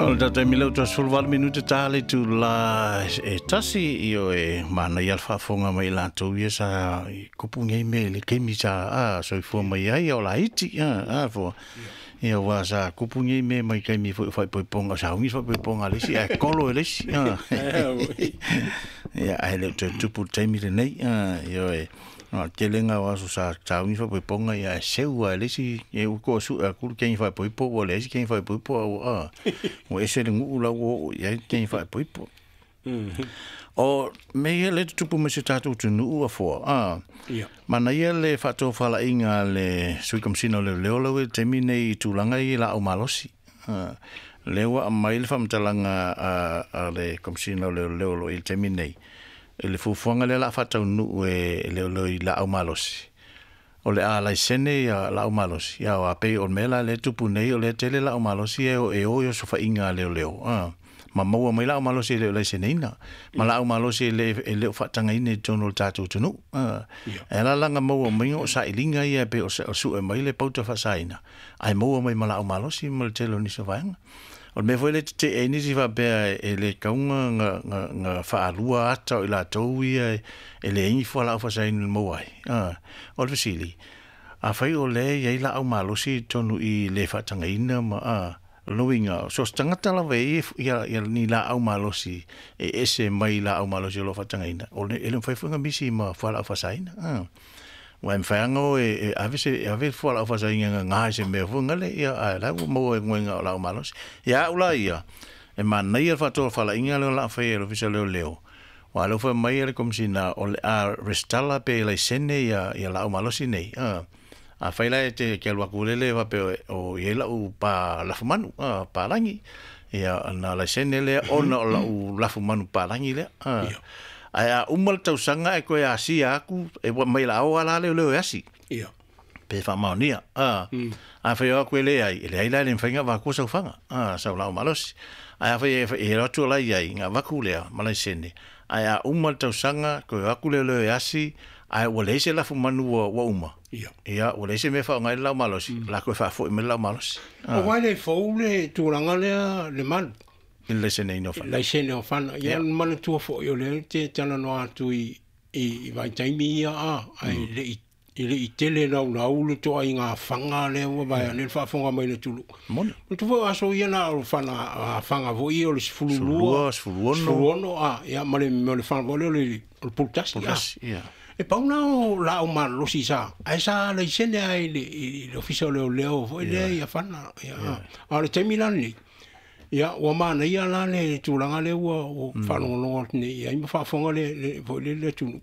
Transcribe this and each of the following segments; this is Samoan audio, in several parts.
O le tatou taimi lea ua 18 minute ta le itula e 1, ioe, manaia le faafofoga mai i latou ia sa tupu nei mea i le taimi sa soifua mai ai a o laiti, a fua. Ia aua sa tupu nei mea mai taimi foi o faaipoipoga, o sauni faaipoipoga a le isi ae tolo e le isi. Ia, ae le o toe tupu i le taimi lenei, ioe. O le telega o aso sa sauni faaipoipoga, ia ae seu lava e le isi, ia ua toe sue atu le teine faaipoipo ua leai se teine faaipoipo a ua, ua ese le nuu la ua oo i ai le teine faaipoipo. O mea ia lea e tutupu mai si o tatou atunuu a Foa, manaia le faatofalaiga a le Sui Komesina o Leoleo lau i le taimi nei i tulaga ia i laau malosi. Lea ua aumai le faamatalaga a le Komesina o Leoleo o lo o i ai i le taimi nei, i le fuafuaga lea o le a faataunuu e leoleo i laau malosi, o le a laisene ia laau malosi, ia aua pei o le mea la lea e tupu nei, o lea e tele laau malosi e o i osofaiga a leoleo, ma maua mai laau malosi e le o laiseneina, ma laau malosi e le o faatagaina i totonu o le tatou atunuu. E ala la ona maua mai o sailiga ia e pei o sue mai le pauta faasaina, ae maua mai ma laau malosi ma le tele o nisi o vaega. O le mea foi lea e tetee ai nisi faapea e le tatau ona faalua ata o i latou ia e leai ni fualaau faasaina e maua ai. O le fesili, afai o lea e i ai laau malosi i totonu i le faatagaina ma o lona uiga, so o se tagata lava e i ai ni laau malosi e ese mai laau malosi o lo o faatagaina, e le mafai foi ona misi ma fualaau faasaina. Aua e mafai lava ona o e ave se ave fualaau faasaina e gaga i se mea foi lale, ia ae la ua maua e goega o laau malosi. Ia au la ia, e manaia le faatofalaiga lea o le a faia e le Ofisa o Leoleo, aua o lea ua fai mai le Komesina o le a resitala pe laisene ia laau malosi nei. Afai la e te alu atu lele faapea o i ai lau pa lafumanu, palagi, ia ona laisene lea ona o lau lafumanu palagi lea. Ae a uma le tausaga ae toe asia atu, e mai la o ala leoleo e asi. Pe faamaonia. Afai o atu e leai, e leai la e le mafai ona avatua sau faga, sau laau malosi. Ae afai e alu atu o la e i ai, ona avatu lea ma laisene. Ae a uma le tausaga, toe o atu leoleo e asi, ae ua leai se lafumanu ua uma. Ia, ua leai se mea e faaaoga ai le laau malosi, o le a toe faafoi mai le laau malosi. Aua e le fou le tulaga lea le malu. I le laiseneina o fana. Laisene o fana. Ia, manatua foi o lea te talanoa atu i vaitaimi ia a, ae le i tele laulau le toaiga faga lea ua vaeane le faafofoga mai le atunuu. Moni. Manatua foi o aso ia na o fana faga foi ia o le 12, 16, 16, a, ia, ma le faga foi lea o le pulutasi, a. Pulutasi, ia. E pau na o laau malosi sa, ae sa laisene ai i le ofisa o leoleo foi lea ia fana, ia, a. A o le taimi la lenei, ia, ua manaia la le tulaga lea ua faalogologo atu nei i ai ma faafofoga le foi le atunuu.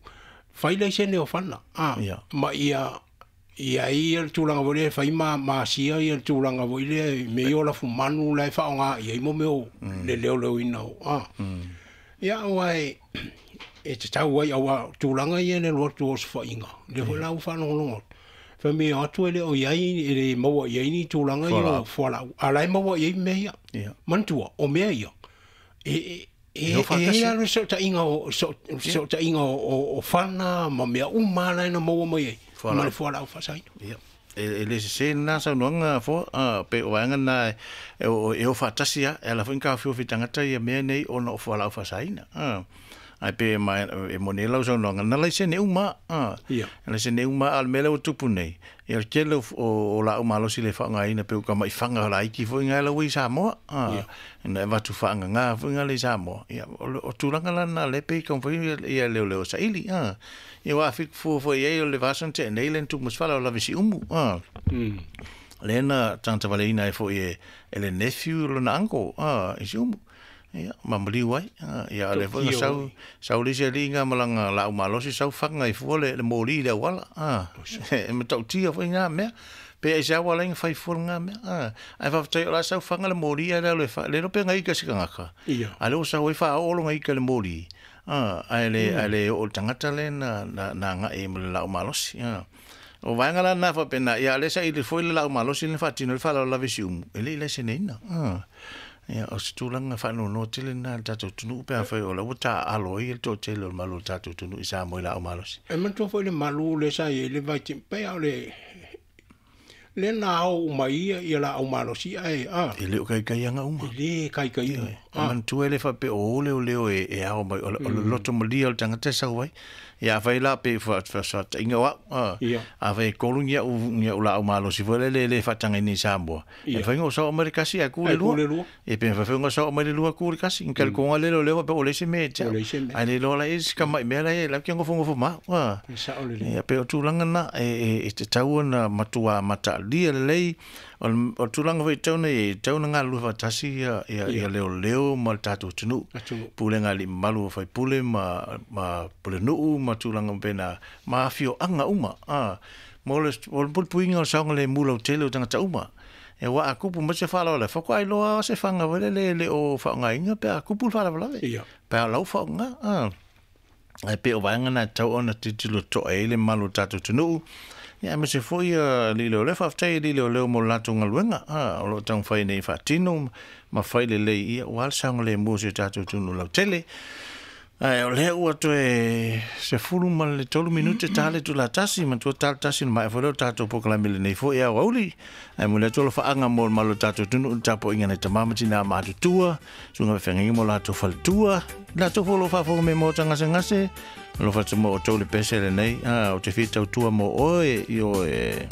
Fai laisene o fana, a, ma ia i ai le tulaga foi lea e fai ma asia ia le tulaga foi lea me i o lafumanu la e faaaoga i ai mo mea o le leoleoina o, a. Ia, aua e tatau ai, aua tulaga ia le alu atu o osofaiga, lea foi la ua faalogologo atu. Fai mai o atu e le o i ai, e le maua i ai ni tulaga ia o fualaau. A la e maua i ai mea ia. Manatua, o mea ia, e i ai le sootaiga o fana ma mea uma la e na maua mai ai, ma le fualaau faasaina. E le sese lena saunoaga Foa, pe o vaega na e o faatasi lava, e ala foi ona taofiofi tagata ia mea nei ona o fualaau faasaina. Ae pe e moni ai lau saunoaga, na laisene uma, laisene uma, a o le mea lea ua tupu nei, ia le tele o laau malosi le faaaogaina pe ua tamai faga laiti foi ngai la ua i Samoa, na e avatu faagaga foi ngai le i Samoa. Ia, o tulaga la na le pe i taumafai ia leoleo saili, Ia ua afi fua foi i ai o le vasa na tea nei le na tupu ma se fala o lave siumu, Lea na tagata valeina ai foi e le nephew lona uncle, i siumu. Ia, ma maliu ai. Ia, le foi na sau le isi alii ngā malanga laau malosi, sau faga i fua le moli i le auala. E matautia foi ngā mea. Pe ai se awa lai nga fai fua ngā mea. Ai whawhatai o la sau faga le moli ai le alo e fa, le rope ngai ika se kangaka. A le o sau ai wha olo ngai ika le moli. Ai le o le tangata le na ngai ma le laau malosi. O vaenga la na whapena, ia le sa i le foi le laau malosi le whatino le whala o lawe siumu. E le i laise neina. Ia, o se tulaga faanoanoa tele lena i le tatou atunuu pe afai o la ua taaalo ai le toatele o le malu o le tatou atunuu i Samoa i laau malosi. E manatua foi le malu lea sa i ai le vaitaimi, pei lava o le lea na ao uma ai ia laau malosi ae a. E le o kaikaiaga uma. E lē kaikai uma. E manatua e le faapea o o leoleo e ao mai, o le loto malia o le tagata e sau ai. Ia afai la pe faataʻiga o a'u, afai e 3 ni a'u laau malosi foi lele e lē faatagaina i Samoa, e mafai ona ou sao mai le kasi ae ku le lua. E pe mafai foi ona sao mai le lua ku le kasi. Ni talitonuga lele o lea faapea ua leai se mea ia te a'u. Ae le iloa la i ai se tama'i mea la e latou te nofonofo ma a'u. Ia pei o tulaga na e tatau ona matuā mataalia lelei. O le tulaga foi e tatau ona i ai, e tatau ona galulue faatasi ia leoleo ma le tatou atunuu, pulega a alii mamalu o faipule ma pulenuu ma tulaga faapena ma afioaga uma mo le puipuiga o le saogalemu lautele o tagata uma. Aua a tupu mai se faalavelave, faatoa iloa lava se fana foi lele e le o faaaogaina pe a tupu le faalavelave, pe a o la ua faaaoga. Ae pei o vaega na e tatau ona tilotilo totoa i ai le mamalu o le tatou atunuu, ia aemaise foi alii leoleo. Faafetai i alii leoleo mo le latou galuega o lo o taumafai nei e faatino ma fai lelei, ia aua le saogalemu o si o tatou atunuu lautele. Ae o lea ua toe 13 minute ta le itula 1, manatua ta le 1 ona maea foi lea o le tatou polokalame i lenei foi aoauli. Ae momoli atu alofaaga mo le mamalu o le tatou atunuu i le tapuaiga a nai tama ma tinā matutua, susuga faafeagaiga ma o latou faletua, i latou foi o lo o faafofoga mai i maota gasegase, alofa atu mo outou le pese lenei, ou te fia tautua mo oe, ioe.